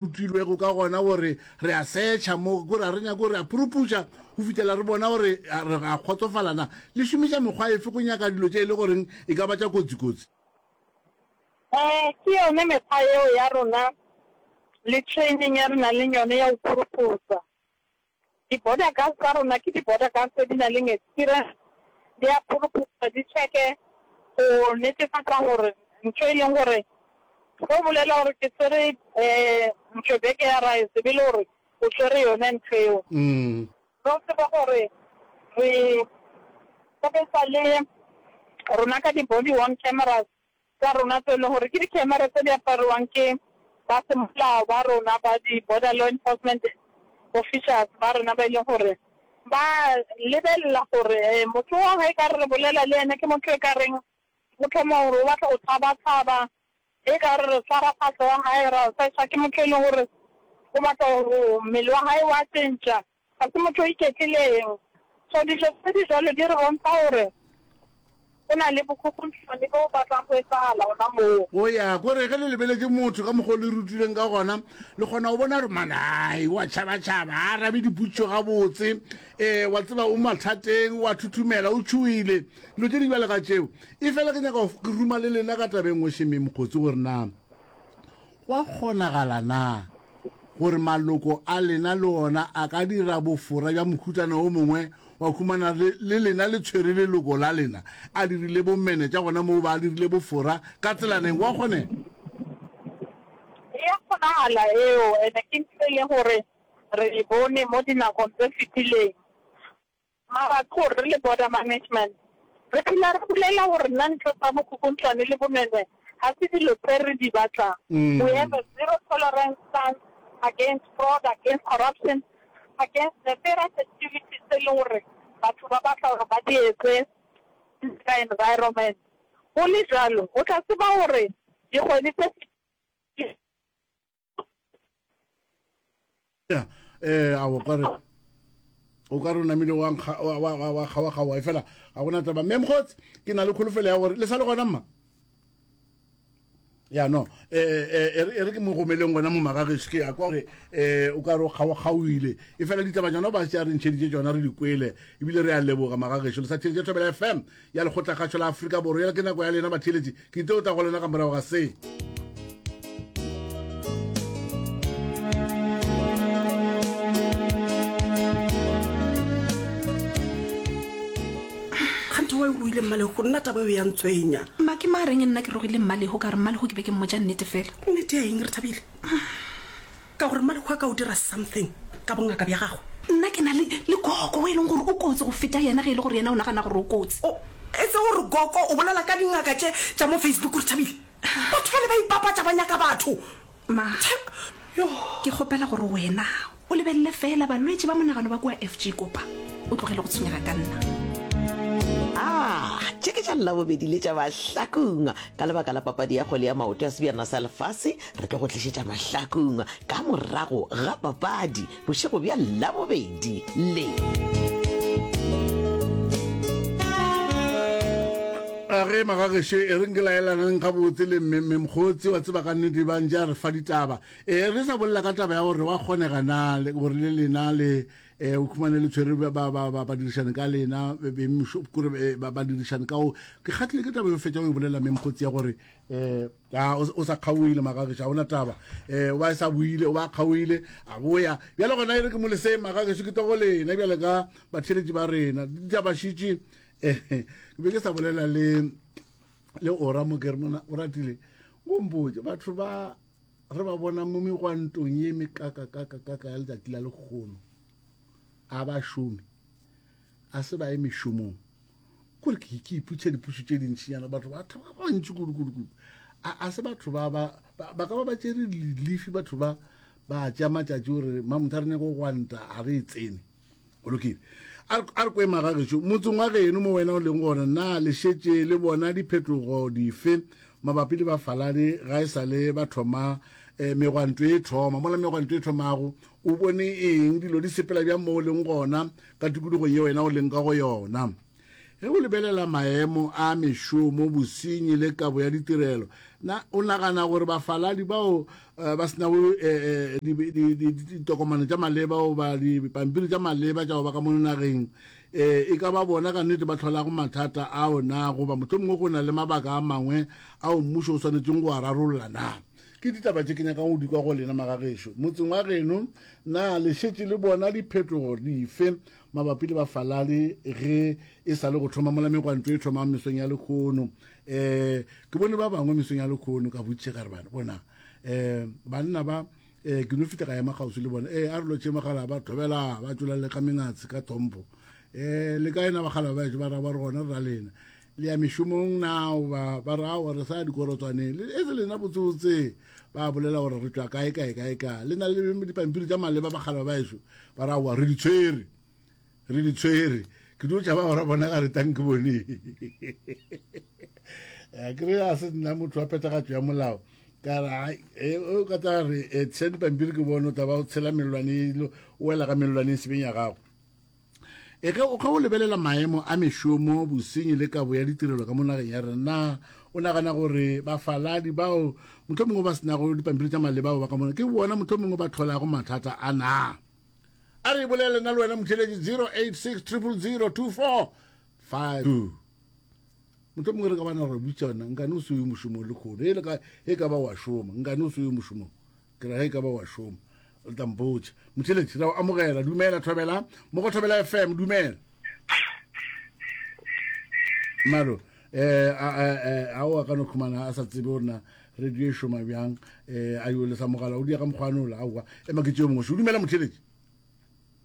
Rutilwego ka gona gore re a setšha mo, kore ga re nyake gore a puruputša go fihlela re bona gore re a kgotsofala na. Le šomiša mekgwa efe go nyaka dilo tše e le goreng e ka ba tša kotsi-kotsi? Ee, ke yone mekgwa yeo ya rona le training ya re nang le yone ya go puruputsa. Di-border guards tsa rona ke di-border guards tse di nang le experience, di a phuruphusa di check-e go netefatsa gore ntho e leng gore ge o bolela gore ke tshwere um ntho beke ya rice e be le gore o tshwere yone ntho eo. Re tsebe gore re sebetsa le rona ka di-body worn cameras tsa rona tse e leng gore ke di-camera tse di apariwang ke ba semolao ba rona ba di-border law enforcement officials ba rena ba e leng gore ba lebelela gore motho wa ga e ka re re bolela le ene ke motho e ka reng o thoma gore o batla go tshaba-tshaba, e ka re re tshwara phahlo ya gae ra search-a ke motho e leng gore o batla go mmele wa gae wa tšentša. Ga se motho o iketlileng. So dijo tse di jwalo di re bontsha gore go na le bokhukhunthwane bo batlang go etsagala gona moo. O ya kore ge le lebeletše motho ka mokgwa o le rutilweng ka gona, le kgona go bona gore man ai wa tšhabatšhaba, ga a arabe dipotšišo gabotse, um wa tseba o mathateng, wa thuthumela, o tšhoile, dilo tše di bjalo ka tšeo. Efela ke nyaka go ruma le lena ka taba e nngwe šeme mokgotsi gore na Go a kgonagala na gore maloko a lena le ona a ka dira bofora bja mohutana o mongwe wa humana le, le lena le tshwere leloko la lena a dirile bomenetša gona moo ba dirile bofora ka tselaneng? Go a kgonega? E a kgonagala eo, ene ke ntho e leng gore re e bone mo dinakong tse fetileng. Mara ke gore re le border management re phela re bolela gore nna ntho tsa bokhukhuntshwane le bonwenwe ga se dilo tse re di batlang. We have a zero tolerance stance against fraud, against corruption, against nefarious activities tse e leng gore batho ba batla gore ba di etse ka environment. Go le jwalo o tla tseba gore dikgwedi tse fetileng, Ya, eh, a o kare o ka re o namile wa nkga- wa- wa- wa- wa kgawa-kgaoga e fela ga gona taba mme mokgotsi ke na le kholofelo ya gore le sa le gona mma ya no eh, eh, e re e re ke mo romeleng gona mo magageso ke ya kwa gore um o ka re o kgaokgaoile e fela ditaba tsona ba se a re ntšheditše tsona re di kwele ebile re a leboga magageso le sa theletše thobela fm ya lekgotlakgašo la Afrika Borwa. Yela ke nako ya lena batheeletši, ke tlo tla go lena ka morago ga se. Kganthe wa o ile mmalego nna taba eo ya ntswenya. Mma ke ma reng nna ke rogile mmalego ka re mmalego ke be ke mmotša nnete fela. Nnete ya eng re thabile? Ka gore Mmalekhu a ka o dira something ka bongaka bja gagwe. Nna ke na le, le Koko o e leng gore o kotsi go feta yena, ge e le gore yena o nagana gore o kotsi. O, e se gore Koko o bolela ka dingaka tše tša mo Facebook, Rethabile. Batho bale ba ipapatša ba nyaka batho. Ma, Yo. ke kgopela gore wena o lebelele feela balwetši ba monagano ba kua FG Kopa, o tlogele go tshwenyega ka nna. A tše ke tša Labobedi le tša Mahlakung. Ka lebaka la papadi ya kgwele ya maoto ya Sebjana sa Lefase, re tlo go tlišetša Mahlakung ka morago ga papadi bošego bja Labobedi le. A ge magagešo e reng ke laelaneng gabotse le mme mme mokgotsi wa tseba ka nnete ba ntše a re fa ditaba e re sa bolela ka taba ya gore wa kgonega na gore le lena le um o khumane le tshwere badirišane ka lena kore badirišane ka o ke kgatlile ke taba yo fetša o e bolela mme mokgotsi ya gore um a o sa kgaoile magageso ga ona taba um o ba sa boile o ba kgaoile a boya bjale gona e re ke mo leseng magageso ke togo lena bjale ka batheletši ba rena ditaba šitše um ke be ke sa bolela le le ora mo ke re mona o ratile o mpotse batho ba re ba bona mo megwantong ye mekakakakakaka ya letšatši la lekgono a ba šome a se ba ye mešomong kore ke ke iputšha dipušo tše dintšinyana batho ba thaba ba bantši kudu kudu kudu a a se batho ba ba ba ka ba ba tšere lefi batho ba ba tšea matšatši gore mamotho a re nyako go gwanta a re e tsene go lokile a re kwe magagešo motseng wa geno mo wena o leng gona na le šetše le bona diphetogo dife mabapi le bafaladi ga e sa le ba thoma eh, megwanto e thoma mola megwanto e thomago o bone eng dilo di sepela bjang mo o leng gona ka tikologo ye wena o leng ka go yona. Ge o lebelela maemo a mešomo, bosenyi le kabo ya ditirelo, na o nagana gore bafaladi bao eh, ba se nago eh, eh, ditokomane tša maleba goba dipampiri tša maleba tša go ba ka mono nageng eh, e ka ba bona ka nnete ba hlolago mathata ao na, goba mohlomongwe go na le mabaka a mangwe ao mmušo o swanetšeng go a rarolla na? Ke ditaba tše ke nyakang go di kwa go lena magagešo. Motseng wa geno, na le šetše le bona diphetogo dife mabapi le bafaladi ge e sa le go thoma mola megwanto e thomang mesong ya lekhono? Um ke bone ba bangwe mesong ya lekhono ka botšiša ka re bana bona um banna ba um ke no fihla ka ema kgauswi le bona ee a re lotšhe mogala ba thobela ba tšola le ka mengatse ka tlhompho um le kae na bagala ba ešo ba ra ba re gona re ra lena le ya mešomong na ba ba re aowa re sa ya dikorotswaneng le e se lena botsebotse ba bolela gore re tšwa kae kae kae kae le na le dipampiri tša maleba bagala ba ešo ba re aowa re di tshwere re di tshwere ke dio tšaba gore bona ga re tang ke bone eh, ke re a se nna motho wa phethagatšo ya molao ka re eh, o ka tla re eh, tshela dipampiri ke bone o tla ba o tshela mellwane o wela ka mellwane e sebeng ya gago E ge o lebelela maemo a mešomo, bosenyi le kabo ya ditirelo ka mo nageng ya rena, na o nagana gore bafaladi bao mohlomongwe ba se nago dipampiri tša maleba bao ba ka mona ke bona mohlomongwe ba hlolago mathata a na? A re bolele nna le wena motheletši 086 000 2452. Mohlomongwe re ka bana ra botšana nkane o se yo mošomong lekgono e le ka e ka ba wa šoma nkane o se yo mošomong. Ke ra ge e ka ba wa šoma. O tla mpotša. Motheletši, ra o amogela. Dumela, Thobela. Mo go Thobela FM, dumela. Malo, eh, a, a, a, a o a ka no khumana a sa tsebe gore na radio e šoma bjang, eh, a yo lesa mogala, o dia ka mokgwa nola, aowa. Ema ke tšeo mongwe. Dumela, motheletši.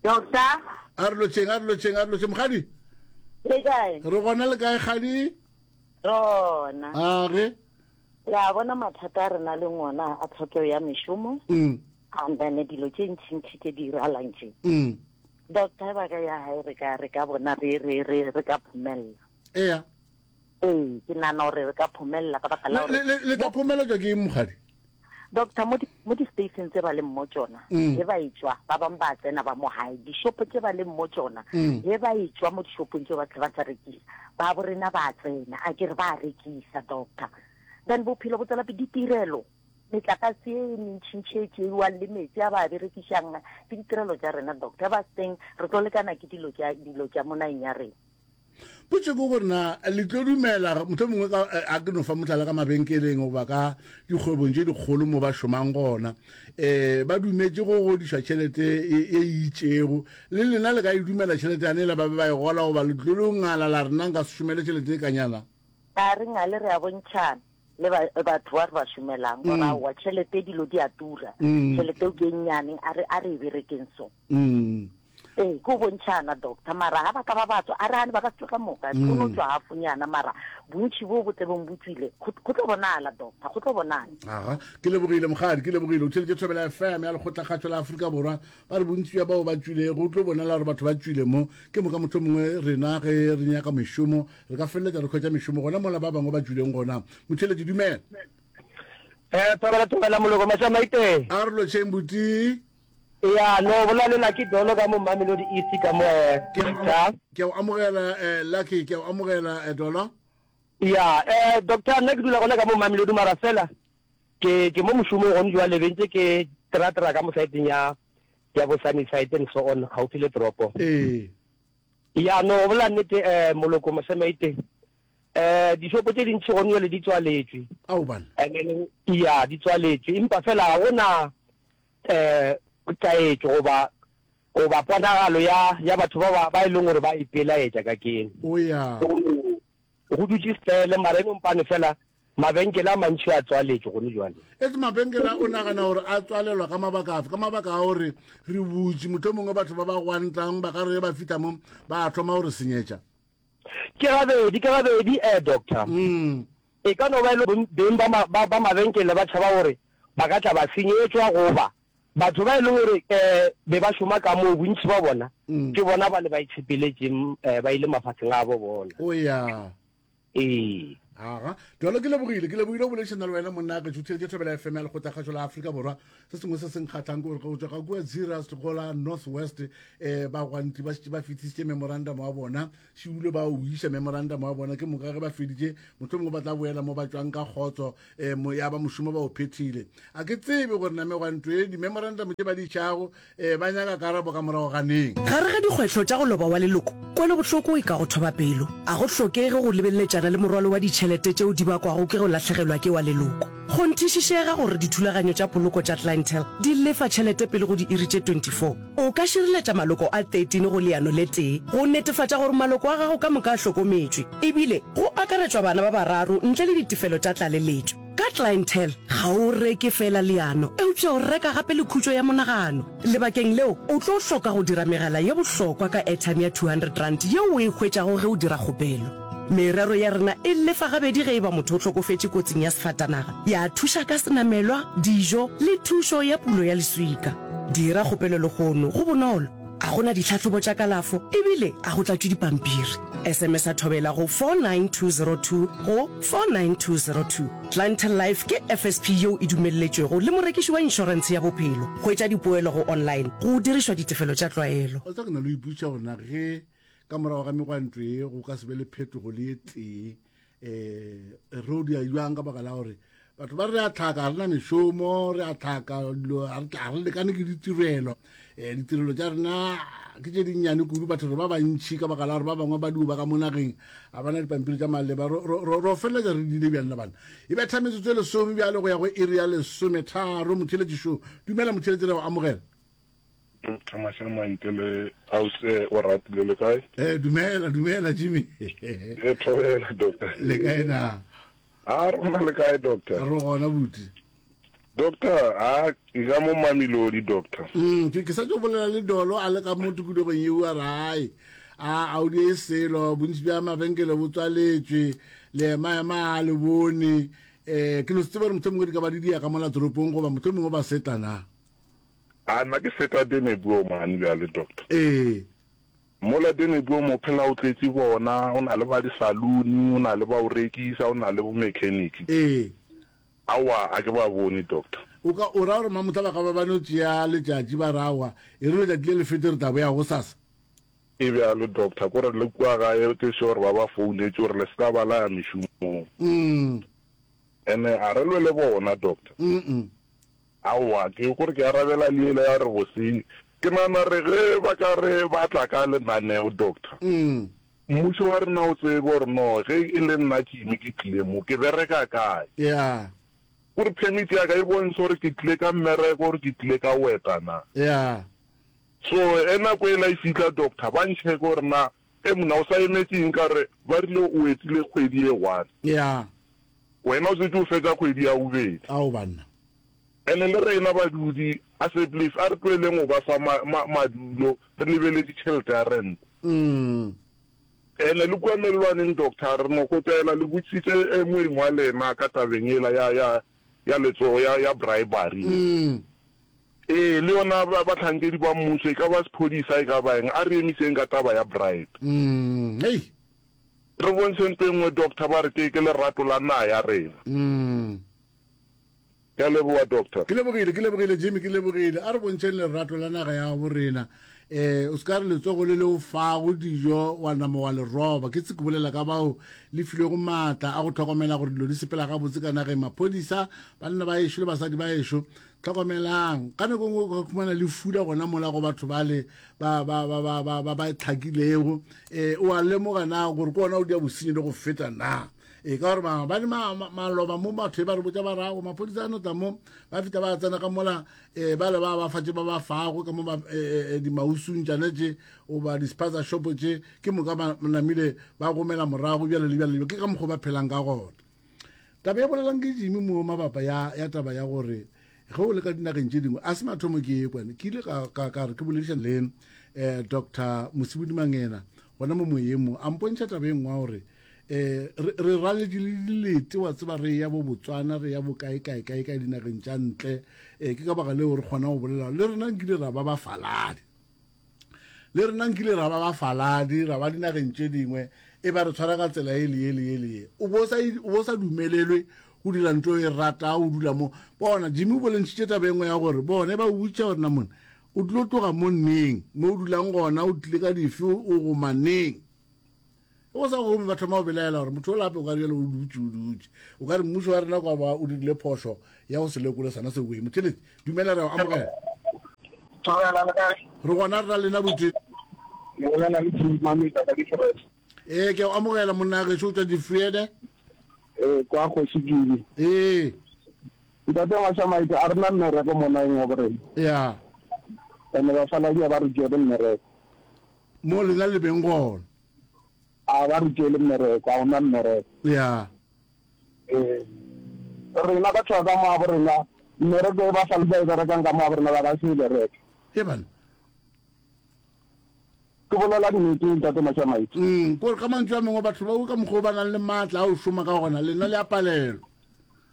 Doctor. A re lotšheng, a re lotšheng, a re lotšheng. Mokgadi. Le kae? Re gona le kae, kgadi? Rona. A ge. Le a bona mathata a re na leng ona a tlhokego ya mešomo mm. and then dilo tše ntšhintšhi tše di iralang tše. Mm. Doctor ba ka ya gae re ka re ka bona re re re re ka phomelela. Ea. Ee, ke nana gore re ka phomelela ka baka la gore le tla phomeletšwa ke eng mokgadi? Doctor mo di mo di-station tse ba leng mo tšona mm. ge ba e tšwa ba bangwe ba tsena ba mo gae dishopo tse ba leng mo tšona mm. ge ba e tšwa mo dishopong tse ba tle ba sa rekisa ba bo rena ba tsena a ke re ba rekisa doctor then bophelo bo tswela pele ditirelo metlakase e mentšhintšhi e tšeiwang le metsi a ba a berekišang ke ditirelo tša rena doctor ba seng re tlo lekana ke dilo tša dilo tša mo nageng ya rena Potšo ke gore na le tlo dumela mohlomongwe mongwe ka eh, a ke no fa mohlala ka mabenkeleng goba ka dikgwebong tše dikgolo mo ba šomang gona um ba dumetše go godišwa tšhelete e, e itšego le lena le ka e dumela tšhelete yane ela ba be ba e gola goba le tlo lo ngala la rena nka se šomele tšhelete e kanyana a re ngale re a bontšhana le batho ba re ba šomelang gore mm. aowa tšhelete dilo di a tura mm. tšhelete o ke e nnyane a re a re e berekeng so mm. Ee, ke go bontšhana, Doctor. Mara ga ba ka ba ba tswa, a re gane ba ka se tšwe ka moka, go no tšwa hafonyana, mara bontši boo bo tlebeng bo tšwile, go, go tlo bonala, Doctor, go tlo bonala. Aga, ke lebogile, mokgadi, ke lebogile. O theletše Thobela FM ya Lekgotlakgašo la Afrika Borwa. Ba re bontši bja bao ba tšwile, go tlo bonala gore batho ba tšwile mo. Ke moka mohlomongwe rena ge re nyaka mešomo, re ka feleletša re hwetša mešomo gona mola ba bangwe ba tšwileng gona. Motheeletši, dumela. Eh, Thobela, Thobela, Moloko, Mašamaite. A re lotšheng, buti. Ya, no bola le Lucky Dolo ka mo Mamelodi East ka mo eh, Doctor. Ke a o amogela eh, Lucky, ke a o amogela eh, Dolo. Ya, eh, Doctor, nna ke dula gona ka mo Mamelodi mara fela ke ke mo mošomong gone jwale be ntse ke tra-tra ka mo saeteng ya ya bo Sunnyside and so on gaufi le toropo. Ee. Ya, no go bolela nnete eh, Moloko Mosemaite eh dishopo tše dintši gone jwale di tswaletšwe. Ao bana. And then ya di tswaletšwe empa fela ga gona eh, taetšo goba goba ponagalo ya ya batho ba ba ba e leng gore ba ipelaetša ka keno. O ya. Go dutše stele mara e no mpane fela mabenkele a mantši a tswaletšwe gone jwale. Etse mabenkele a o nagana gore a tswalelwa ka mabaka afe? Ka mabaka a gore re butše, mohlomongwe batho ba ba gwantang ba ka re ge ba fihla mo ba thoma go re senyetša. Ke gabedi, ke gabedi, eh, doctor. Mm. E ka no ba e le beng ba, ba, ba mabenkele ba tšhaba gore ba ka tla ba senyetšwa goba batho ba e leng gore um be ba šoma ka moo bontši ba bona mm. ke bona ba le ba itshepeletšeng um ba ile mafatsheng a bo bona. O ya. Ee. Aga, Dolo ke lebogile, ke lebogile go boledišana le wena monna ke tšhutheletše Thobela FM ya Lekgotlakgašo la Afrika Borwa. Se sengwe se se nkgatlhang ke gore go tšwa ka kua Zeerust go la North West eh, bagwanti ba šetše ba fetisitše memorandum wa bona, šiulo ba o iša memorandum wa bona, ke moka ge ba feditše mohlomongwe ba tla boela mo ba tšwang ka kgotso eh, mo, ya ba mošomo ba o phethile. A ke tsebe gore na megwanto e di-memorandum tše ba di išago Ee, ba nyaka karabo ka morago ga neng? Gare ga dikgwetlho tša go loba wa leloko, kwelobohloko e ka go thoba pelo. A go hlokege go lebeleletšana le morwalo wa ditšhelete tšeo di bakwago ke go lahlegelwa ke wa leloko. Kgonthišišega gore dithulaganyo tša poloko tša Clientele di lefa tšhelete pele go diiri tše 24. O ka šireletša maloko a 13 go leano le tee go netefatša gore maloko a gago ka moka a hlokometšwe, ebile go akaretšwa bana ba bararo ntle le ditefelo tša tlaleletšo. Ka Clientele, ga o reke feela leano, eupša o reka gape le khutšo ya monagano. Lebakeng leo, o tlo hloka go dira megala ye bohlokwa ka airtime ya R200 yeo o e hwetšago ge o dira kgopelo. Merero ya rena e lefa gabedi ge e ba motho o hlokofetše kotsing ya sefatanaga, ya thuša ka senamelwa, dijo le thušo ya pulo ya leswika. Dira kgopelo lehono, go bonolo, ga go na ditlhahlobo tša kalafo ebile ga go tlatšwe dipampiri. SMS-a Thobela go 49202 go 49202. Clientele Life ke FSP yeo e dumelletšwego le morekiši wa inšorentshe ya bophelo. Hwetša dipoelo go online go dirišwa ditefelo tša tlwaelo. O tseba ke na le go ipotšiša gore na ge ka morago ga megwanto ye go ka se be le phetogo le ye tee um re o dia jwang ka baka la gore batho ba re a tlhaka ga re na mešomo re a tlhaka dilo ga re lekane ke ditirelo um ditirelo tša rena ke tše dinnyane kudu batho re ba bantšhi ka baka la gore ba bangwe ba dio ba ka mo nageng ga ba na dipampiri tša maleba ro feleletša re dile bjang le bana e betha metsotso e lesome bjale go ya go iri ya lesometharo motheletšišo dumela motheletši re go amogela Doctor Mashamaite le Ausi o ratile le kae? Eh dumela dumela Jimmy. Eh thobela doctor. Le kae na? A re gona le kae doctor? Re gona buti. Doctor, a ke ka mo Mamelodi doctor. Mm, ke ke sa tlo bolela le Dolo a le ka mo tikologong yeo a re ai a a o die selo bontši bja mabenkele bo tswaletšwe le ema ema a le bone eh ke no se tsebe gore mohlomongwe di ka ba di dia ka mola toropong goba mohlomongwe ba setla na. A nna ke feta Denebuo mane bjale, Doctor. Ee. Mola Denebuo mo phela o tletše bona, o na le ba di-saloon, o na le ba o rekisa, o na le bo mechanic. Ee. Aowa, a ke ba bone, Doctor. O ka, o ra gore mamotla ba ka ba ba no tšea letšatši ba re aowa, e re letšatši le le fete re tla boya gosasa? E bjalo, Doctor, ko re le kua gae ke sure ba ba founetše gore le se ka ba la ya mešomong. Mm. Ene a re lwe le bona, Doctor. Mm-mm. Aowa, ke gore ke arabela le yela ya gore bosenyi. Ke nagana re ge ba ka re ba tla ka lenaneo, Doctor, mmušo wa rena o tsebe gore no ge e le nna Jimmy ke tlile mo, ke bereka kae. Yeah. Gore permit ya ka e bontshe gore ke tlile ka mmereko gore ke tlile ka go eta na. Yeah. So ge nako yela e fihla, Doctor, ba ncheke gore na e monna o sa emetše eng ka gore ba rile o etile kgwedi ye one. Yeah. Wena o šetše o fetša kgwedi ya bobedi. Ao banna. Ene le rena badudi, assemblies, a re tloheleng go ba fa ma, ma, madulo, re lebeletše tšhelete ya rent. Ene le kua mellwaneng, Doctor, re no kgopela le botšiše moeng wa lena ka tabeng yela ya, ya, ya letsogo, ya, ya bribery. Ee, le yona ba, bahlankedi ba mmušo, e ka ba sephodisa, e ka ba eng, a re emiseng ka taba ya bribe. Hei. Re bontšhe ntho e nngwe doctor ba re ke ke lerato la naga ya rena. Ke a leboga doctor. Ke lebogile, ke lebogile Jimmy, ke lebogile. A re bontšheng lerato la naga ya gabo rena. Eh, o se ka re letsogo le le o fago dijo wa nama wa le roba. Ke tse ke bolela ka bao le filwego maatla a go hlokomela gore dilo di sepela gabotse ka nageng. Maphodisa, banna ba ešo le basadi ba ešo, Hlokomelang, ka nako e nngwe o ka khumana le fula gona mola go batho bale ba ba ba ba ba ba ba tlhakilego. Eh, o a lemoga na gore ke ona o dia bosenyi le go feta na? E ka gore maabane maloba mo batho e ba re botša ba rago maphodisa a no tla mo ba feta ba tsena ka mola eh, ba le ba ba fatše ba ba fago ka mo ba eh, eh, dimausung tšane tše goba di-spaza shop tše ke moka ba namile ba gomela morago bjale le bjale ke ka mokgwa ba phelang ka gona. Taba e bolelang ke Jimmy mo mabapa ya, ya taba ya gore ge o le ka dinageng tše dingwe a se mathomo ke e kwane ke ile ka, ka, ka re ke boledišana le eh, Dr Mosibudi Mangena gona mo moyeng mo a mpontšha taba e nngwe ya gore eh, re, re raletše le dilete wa tseba re ya bo Botswana re ya bo kae kae kae kae dinageng tša ntle eh, ke ka baka leo re kgona go bolela le rena nkile ra ba bafaladi le rena nkile ra ba bafaladi ra ba dinageng tše dingwe. e ba re tshwara ka tsela e le ye le ye le ye. O bo sa o bo sa dumelelwe go dira ntho e rata o dula mo. Bona Jimmy o bolentšhitše taba e nngwe ya gore bone ba o botša gore na mone o tlo tloga mo neng mo o dulang gona o tlile ka dife o goma neng. Go sa gomme ba thoma go belaela gore motho o lape o ka re bjale o dutše o dutše. O ka re mmušo wa rena kwa ba o dirile phošo ya go se lekole sona se wee. Motheletši, dumela re a o amogela. Thobela le kae? Re gona re na lena botse. Le bolela le Chief Mameta ka Difrede. Ee, ke a o amogela monna gešo o tšwa Difrede. Ee, kwa Kgoši Kibi. Ee. Ntate Mashamaite, a re na mmereko mo nageng ya borena. Ya. Ene bafaladi a ba re tšere mmereko. Mo lena le beng gona. A ba re tšeele mmereko, a ona mmereko. Ya. Ee. Rena batho ba ka mo gabo rena, mmereko e ba sale ba e berekang ka mo gabo rena ba ka se e bereke. He bana. Ke bolela nnete, Ntate Mashamaite. Mm, kore ka mantšu a mangwe batho bao ka mokgwa o ba nang le maatla a go šoma ka gona, lena le a palelwa.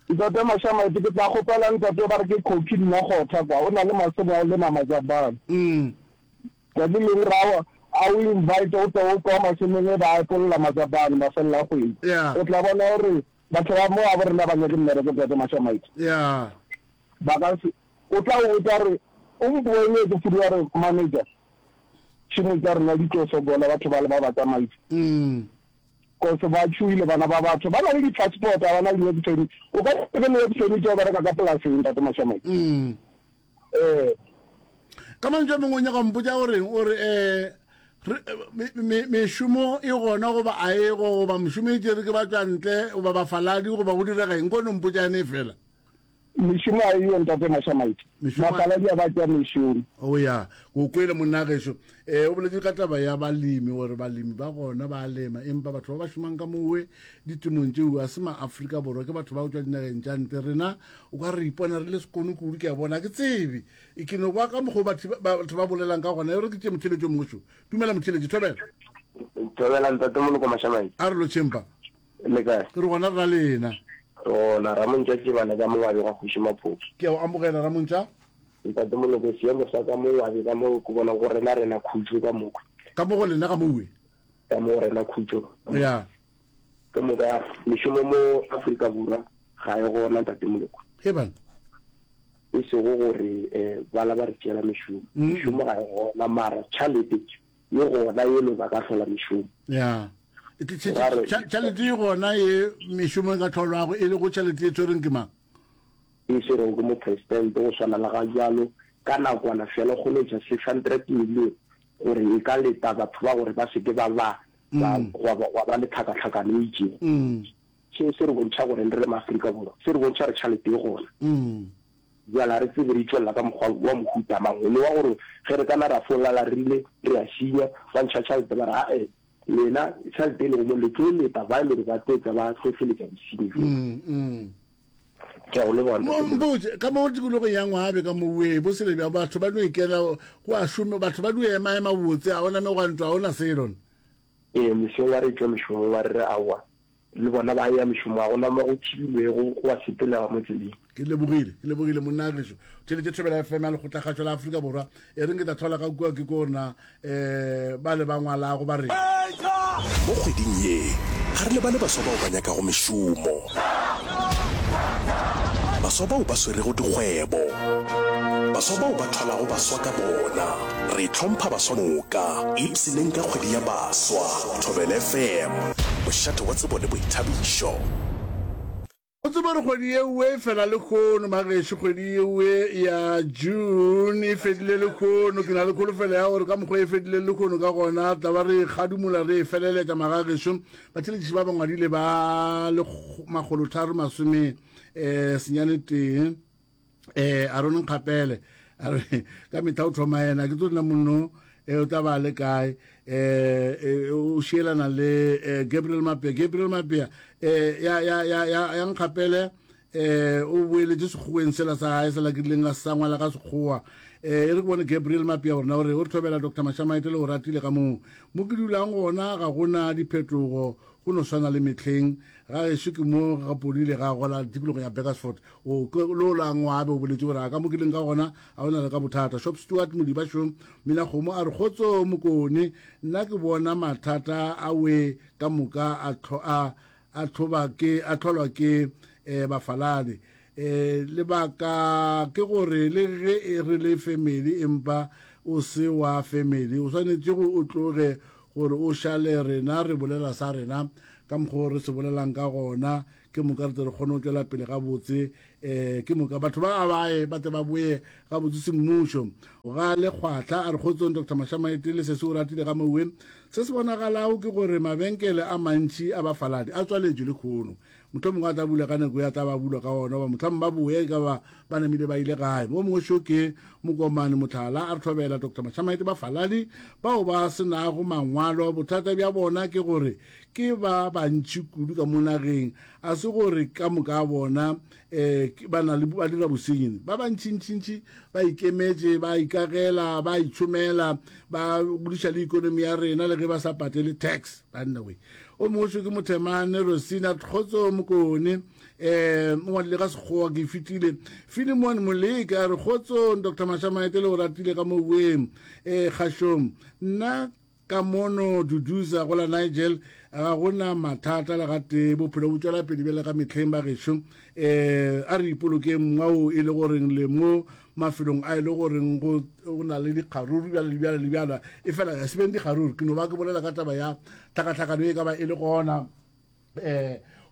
Ntate Mashamaite, ke tla kgopela ntate ba re ke Cocky nna Kgotha kwa, o na le masemo a go lema majabane. Mm. Tšatši leng ra a o invite o tle o kwa mašemong e ba epolola matsapane mafelelo a kgwedi. Yeah. O tla bona gore batho ba mo gabo rena ba nyake mmereko Tate Mashamaite. Yeah. Ba ka se o tla o botsa re o mpoeletse fudu wa re manager tšhemo tša rena di tlo sokola batho ba le ba ba tsamaisa. Mm. Cause ba tšhoile bana ba batho ba na le di-passport ga ba na le di-work permit. O ka se be le work permit wa bereka ka polaseng Tate Mashamaite. Mm. Ee. Ka mantšu a mangwe o nyaka go mpotša goreng o re um mešomo e gona goba a e go goba mešomo e tšere ke batšwantle goba bafaladi goba go direga eng ko no mpotša yane fela mešomo a eyo ntate Mashamaite bafaladi a ba tšea mešomo o ya o kwele monna gešo um o boletse ka taba ya balemi gore balemi ba gona ba lema empa batho ba ba šomang ka mowe ditemong tšeo a se ma-Afrika Borwa ke batho ba go tšwa dinageng tša ntle rena O ka re ipona re le sekono kudu, ke a bona. Ga ke tsebe. E ke no kwa ka mokgwa o batho ba, batho ba bolelang ka gona. E re ke tšee motheeletši o mongwe šo. Dumela motheeletši, thobela. Thobela ntate Moloko Mashamaite. A re lotšheng pa. Le kae? Re gona re na lena. Re gona, Ramontša Tšebana ka Mongwabi gwa Kgoši Maphoso. Ke a o amogela Ramontša. Ntate Moloko, seemo sa ka Mongwabi ka mo ke bona go rena rena khutšo ka moka. Ka mo go lena ka mowe? Ka mo go rena khutšo. Ya. Ke moka mešomo mo Afrika Borwa ga e gona Ntate Moloko. He bana. E sego gore um bala ba re tšeela mešomo. Mešomo ga e gona mara tšhalete e gona e le ba ka hlola mešomo. Ya. Tšhalete e gona ye mešomo e ka hlolwago e lego tšhalete e tshwereng ke mang? E swerego ke mopresidente go swana le ga bjalo ka nakwana fela o kgone go ntšha 600 million gore e ka leta batho ba gore ba se ke ba ba ba mm. gwa ba gwa ba le tlhakatlhakano e itšego. Mm. Seo se re bontšha gore re le maAfrika Borwa, se re bontšha gore tšhalete e gona. Mm. Bjale ga re tsebe re itšwelela ka mokgwa wa mohuta mang, le wa gore ge re kana ra fo lala re rile re a šinya, ba ntšha tšhalete ba re ae lena tšhalete e lego mo le tlo leta ba e le gore ba tlo tla ba hlohleletša bosenyi bjo. Mm, mm. Ke a go leboga ntate Moloko. Mpotše, ka mo tikologong ya Ngwabe ka mo wee, bo sele bjang, batho ba no ikela go a šome, batho ba no ema-ema botse, ga gona megwanto, ga gona selo. Ee, mesong ba re tšwa mešomong ba re re aowa, le bona ba ya mešomong, ga gona mo go thibilwego, go a sepelega mo tseleng. Ke lebogile, ke lebogile monna gešo. Theletše Thobela FM ya Lekgotlakgašo la Afrika Borwa. E reng ke tla thola ka kua ke ko na um ba le ba ngwalago ba re. Mo kgweding ye, ga re lebale baswa bao ba nyakago mešomo, baswa bao ba swerego dikgwebo, baswa bao ba thwalago baswa ka bona. Re hlompha baswa moka. Ipshineng ka kgwedi ya baswa. Thobela FM, mošate wa tsebo le boithabišo. O tsebe gore kgwedi yeoe e fela lekhono, magešo, kgwedi yeoe ya June e fedile lekhono. Ke na le kholofelo ya gore ka mokgwa e fedile lekhono ka gona, tla ba re e kgadumola re e feleletša magagešo. Batheeletši ba ba ngwadile ba le makgolotharo masome um senyane tee. Eh, Aaron Nkgapele a re ka mehla o thoma yena ke tlo nna monno eh, o tla ba le kae eh, eh, o šielana le eh, Gabriel Mapea Gabriel Mapea eh, ya, ya, ya, ya, ya Nkgapele. Um o boeletše sekgoweng sela sa gae sela ke rileng a sa ngwala ka sekgowa. Um e re ke bone Gabriel Mapia gore na o re o re thobela Doctor Mashamaite le o ratile ka moo. Mo ke dulang gona ga go na diphetogo go no swana le mehleng. Ga gešo ke mo ga podile ga gola tikologong ya Burgersfort. O ke le o la ngwabe o boletše gore a ka mo ke leng ka gona ga go na le ka bothata. Shop Stewart Modiba šo mina kgomo a re kgotso Mokone nna ke bona mathata a we ka moka a a a tlhoba ke a tlholwa ke eh, bafaladi. Eh, lebaka ke gore le ge e re le family empa o se wa family o swanetše go o tloge gore o šale rena re bolela sa rena ka mokgwa o re se bolelang ka gona ke moka re tle re kgone go tšwela pele gabotse um ke moka batho ba a baye ba tle ba boye gabotse semmušo ga lekgwahla a re kgotsong dr mashamaete le sese o ratile ga mowe se se bonagalago ke gore mabenkele a mantši a bafaladi a tswaletšwe le kgono mohlomongwe mongwe a tla bula ka nako ya tla ba bulwa ka ona goba mohlomongwe ba boye ka ba ba namile ba ile gae mo mongwe šo ke mokomane motlhala a re thobela dr mashamaete bafaladi bao ba se nago mangwalo bothata bja bona ke gore ke ba bantši kudu ka mo nageng a se gore ka moka a bona um ba na le ba dira bosenyi ba bantšintšintši ba ikemetše ba ikagela ba itšhomela ba godiša le ikonomi ya rena le ge ba sa patele tax banna we O mongwe ke Mothemane Rosina Kgotso Mokone um o ngwadile ka sekgowa ke fetile Filimon Moleke a re kgotsong Dr Mashamaete le o ratile ka moweng um kgašong nna ka mono Duduza go la Nigel ga gona mathata le gatee bophelo bo tšwela pele bjale ka mehleng ba gešo um a re ipolokeng mongwao e le goreng le mo mafelong a e le goreng go go na le dikgaruru bjale le bjale le bjala e fela ya se beng dikgaruru ke no ba ke bolela ka taba ya tlhakatlhakano e ka ba e le gona um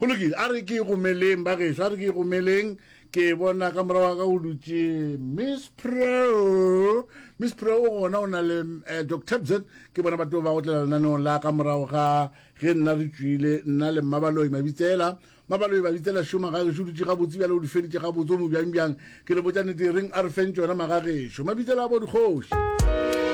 go lokile a re ke gomeleng ba gešo a re ke gomeleng ke bona ka morago ka go dutše miss pro miss pro o gona o na le eh, dr bzet ke bona batho ba go tlela lenaneong la ka morago ga ge nna re tšwile nna le mmabaloi mabitsela Mabaloi ba bitsela šoma ga gešo dutše gabotse bjale o di feditše gabotse o mo bjang bjang ke le botša nnete e reng a re feng tšona magagešo mabitsela a bo dikgoši.